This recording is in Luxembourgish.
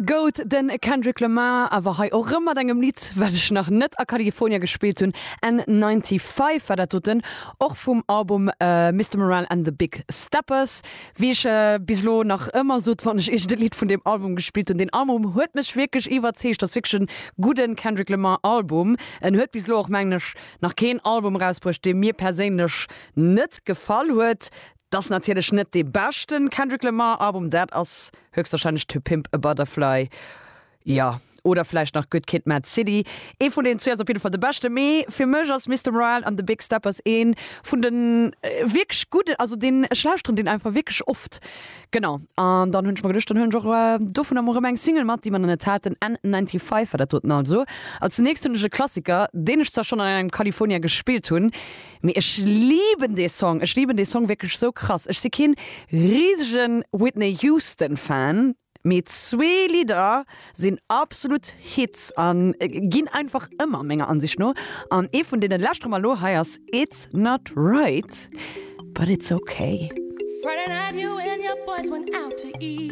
Goat, den Kendrick Lamar, awer hei och rëm mat engem Lidd, wat ech nach net a California gespillt hunn, N95 war dat doten, och vum Album Mister Morale and the Big Steppers. Wéi ech bis elo nach ëmmer sot, wann ech iergend e Lidd vun deem Album gespillt hunn, deen Album huet mech wierklech iwwerzeegt, ass wierklech e gudden Kendrick Lamar Album. En huet bis elo och, mengen ech, nach keen Album erausbruecht, dee mir perséinlech net gefall huet. 't ass natierlech net dee beschten Kendrick Lamar Album, dat ass höchstwahrscheinlech To Pimp a Butterfly, jo, oder vläicht nach Good Kid, Mad City. Ee vun deenen zwee ass op jidde Fall de beschten, mee fir mech ass Mister Morale and the Big Steppers ee vun de wierklech gudden, also deen, ech lauschteren deen einfach wierklech oft. Genau, an dann hunn ech mer geduecht, dann huelen ech och dovunner mol erëm eng Single mat, déi mer nach net haten, N95 war dat doten also. Als nächst hunn ech e Klassiker, deen ech zwar schonn an engem California gespillt hunn, Mee ech liben dee Song, ech liben dee Song wierklech sou krass. Ech si keen risegen Whitney Houston Fan, mee zwee Lidder sinn absolut Hits an ginn einfach ëmmer menger Ansicht no. An ee vun deene lauschtere mer elo, hei ass It's Not Right But It's Okay. Friday night you and your boys went out to eat.